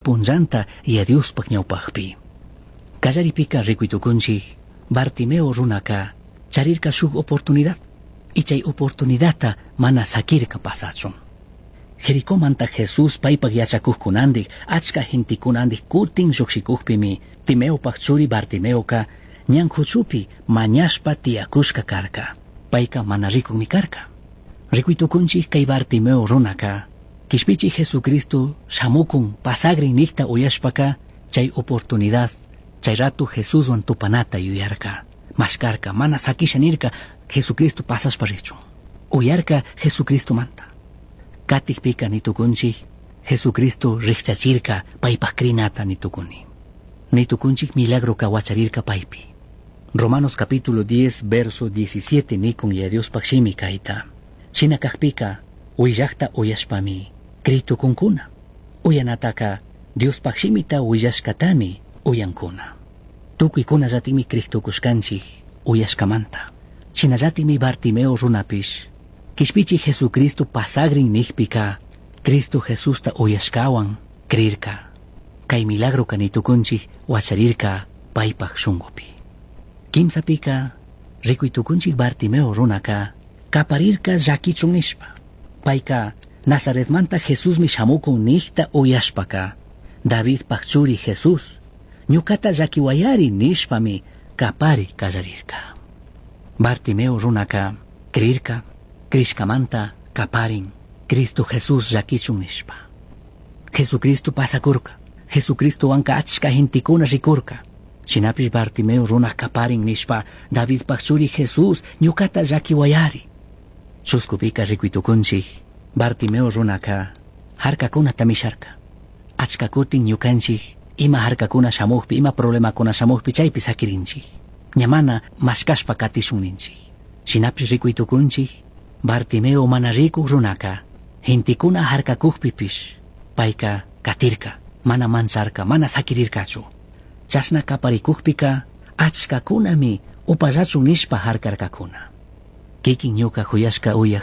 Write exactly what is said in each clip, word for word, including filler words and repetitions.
Punllanta Yaya Diospaj ñawpajpi. Kallaripika rikuy tukunchik Bartimeo runaka charirka shuk oportunidad y chay oportunidadta mana sakirka pasachun. Jericomanta Jesús paypak yachakukkunandik achka gentekunandik kutin llukshikukpimi Timeopaj churi Bartimeoka ñan kuchupi mañashpa tiyakushka karka. Payka mana rikukmi karka. Rikuy tukunchik kay Bartimeo runaka Kishpichi Jesucristo shamukun pasagrin nikta uyashpaka chay oportunidad chay rato Jesuswan tupanata yuyarka. Mashkarka mana sakisha nirka Jesucristo pasashpa richun. Uyarka Jesucristo manta. Katikpika nitukunchik Jesucristo rikchachirka paypaj crinata nitukuni. Nitukunchik milagro wacharirka paypi. Romanos capítulo diez verso diecisiete nikun Yaya Diospaj shimi kayta. Shina kakpika uyllakta uyashpami critukunkuna. Uyanataka Diospaj shimita uyashkatami uyankuna. Tukuykunallatimi critukushkanchik uyashkamanta. Shinallatimi Bartimeo runapish Kishpichi Jesucristo pasagrin nikpika Cristo Jesusta uyashkawan crirka. Kay milagro kanitukunchik wacharirka paypaj shungupi. Kimsapika rikuytukunchik Bartimeo runaka kaparirka llakichun nishpa. Payka Nazaretmanta Jesusmi shamukun nikta uyashpaka Davidpaj churi Jesús ñukata llakiwayari nishpami kapari kallarirka. Bartimeo runaka crirka crishkamanta kaparin Cristo Jesús llakichun nishpa. Jesucristo pasakurka. Jesucristo wanka achka gentekuna rikurka. Shinapish Bartimeo runa kaparin nishpa Davidpaj churi Jesús ñukata llakiwayari. Chuskupika rikuytukunchik Bartimeo runaka harkakunata misharka. Achka kutin ñukanchik ima harkakuna shamukpi ima problemakuna shamukpi chaypi sakirinchik. Ñamana mashkashpa katishun ninchik. Shinapish rikuytukunchik Bartimeo mana rikuk runaka gentekuna harkakukpipish payka katirka mana mancharka mana sakirirkachu. Chashna kaparikukpika achkakunami upallachun nishpa harkarkakuna. Kikin ñuka huyashka uyaj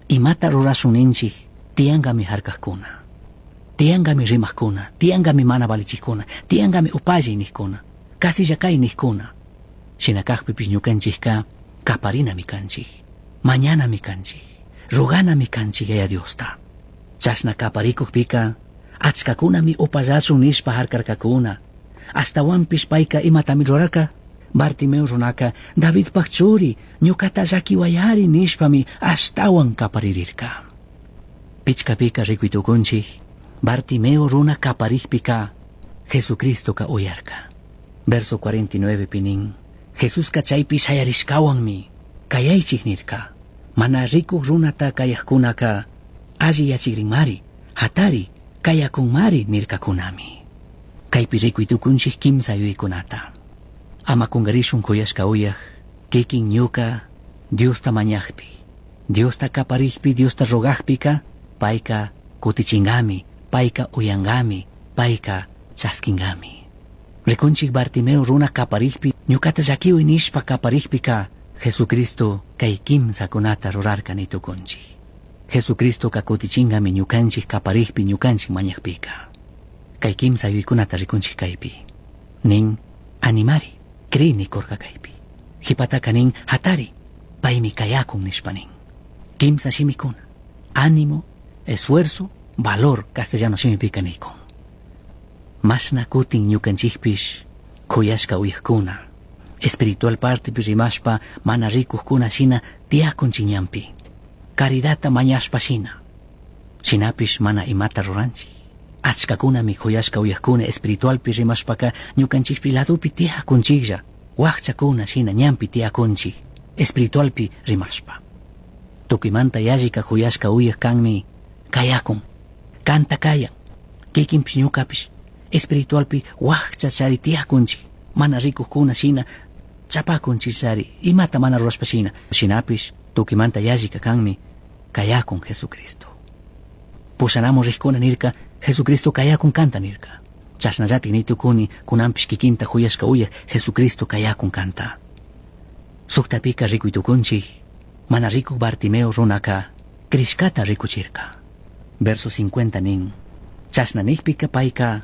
imata rurashun ninchik tiyankami harkakuna. Tiyankami rimakkuna, tiyankami mana valichikkuna, tiyankami upalli nikkuna, kasilla kay nikkuna. Shina kakpipish ñukanchikka kaparinami kanchik, mañanami kanchik, roganami kanchik Yaya Diosta. Chashna kaparikukpika achkakunami upallachun nishpa harkarkakuna. Ashtawanpish payka imatami rurarka Bartimeo runaka Davidpaj churi ñukata llakiwayari nishpami ashtawan kaparirirka. Pichkapika rikuytukunchik Bartimeo runa kaparikpika Jesucristoka uyarka. Verso cuarenta y nueve pinin Jesuska chaypi shayarishkawanmi kayaychik nirka. Mana rikuk runata kayakkunaka alli yachikrinmari hatari kayakunmari nirkakunami. Kaypi rikuytukunchik kimsa yuykunata. Ama kungarishun kuyashka uyaj kikin ñuka Diosta mañajpi, Diosta kaparikpi, Diosta rogajpika payka kutichingami, payka uyangami, payka chaskingami. Rikunchik Bartimeo runa kaparikpi, ñukata llakiwi nishpa kaparikpika Jesucristo kay kimsakunata rurarka nitukunchik. Jesucristo ka kutichingami ñukanchik kaparikpi, ñukanchik mañajpika. Kay kimsa yuykunata rikunchik kaypi. Nin animari, cri nikurka kaypi. Hipataka nin hatari, paymi kayakun nishpa nin. Kimsa shimikuna, ánimo, esfuerzo, valor, castellano shimipika nikun. Mashna kutin ñukanchikpish kuyashka uyajkuna. Espiritual partepi rimashpa mana rikukkuna shina tiyakunchik ñanpi. Caridadta mañashpa shina. Shinapish mana imata ruranchik. Achkakunami kuyashka uyajkuna espiritualpi rimashpaka ñukanchikpi ladupi tiyakunchiklla. Wakchakuna shina ñanpi tiyakunchik espiritualpi rimashpa. Tukuymanta yallika kuyashka uyaj kanmi kayakun, kanta kayan, kikinpish ñukapish espiritualpi wakcha chari tiyakunchik, mana rikukkuna shina chapakunchik chari, imata mana rurashpa shina. Shinapish tukuymanta yallika kanmi kayakun Jesucristo. Pushanamun rikkuna nirka Jesucristo kayakun kanta nirka. Chashnallatik nitukuni kunanpish kikinta huyashka uyaj Jesucristo kayakun kanta. Suktapika rikuytukunchik mana rikuk Bartimeo runaka crishkata rikuchirka. Verso cincuenta nin chashna nikpika payka